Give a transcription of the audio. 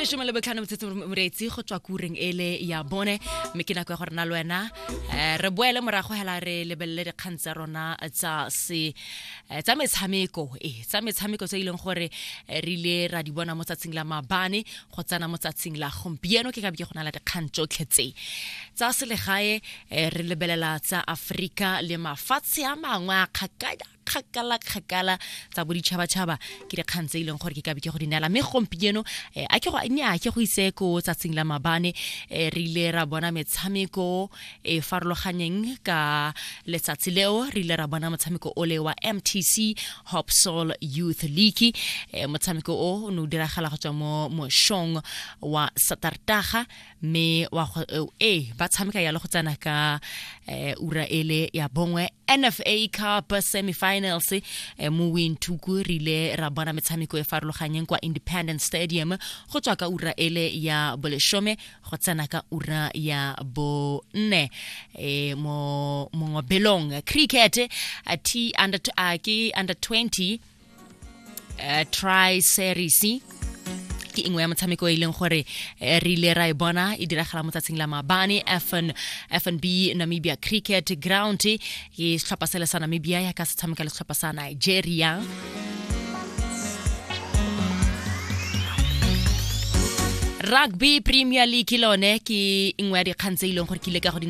Lesome le botlhano motshetso moreetsi go tswa kureng ele ya bone, mme ke nako ya gore na le wena re boele morago hela re lebelele dikgang tsa rona tsa se tsa metshameko, tsa metshameko tse e leng gore re ile ra di bona mo tsatsing la maabane go tsena mo tsatsing la gompieno. Ke ka be ke go na le dikgang tsotlhe tse tsa selegae, re lebelela tsa Aforika le mafatshe a mangwe a kgakala kgakala kgakala, tsa boditšhabatšhaba. Ke dikgang tse e leng gore ke ka be ke go di neela. Mme gompieno a ke go nya ke go ise ko tsatsing la mabane, re ile ra bona metshameko e farologanyeng ka letsatsi leo. Re ile ra bona motshameko o le wa MTC Hopsol Youth League. Motshameko o o ne o diragala go tswa mo mošong wa Satartaga, mme wa go ba tshameka yalo go tsena ka ura ele ya bongwe. NFA Cup semifinals mo Windhoek, re ile ra bona metshameko e farologanyeng kwa Independence Stadium go tswa ka ura ele ya boleshome go tsena ka ura ya bonne. Mo mongobelong cricket, T under ke under 20 tri series ke nngwe ya motshameko e leng gore re ile ra e bona e diragala mo tsatsing la maabane FNB Namibia Cricket Ground. Ke setlhopha sele sa Namibia ya ka se tshameka le setlhopha sa Nigeria. Rugby Premier League lone ke nngwe ya dikgang tse e leng gore ke ile ka go di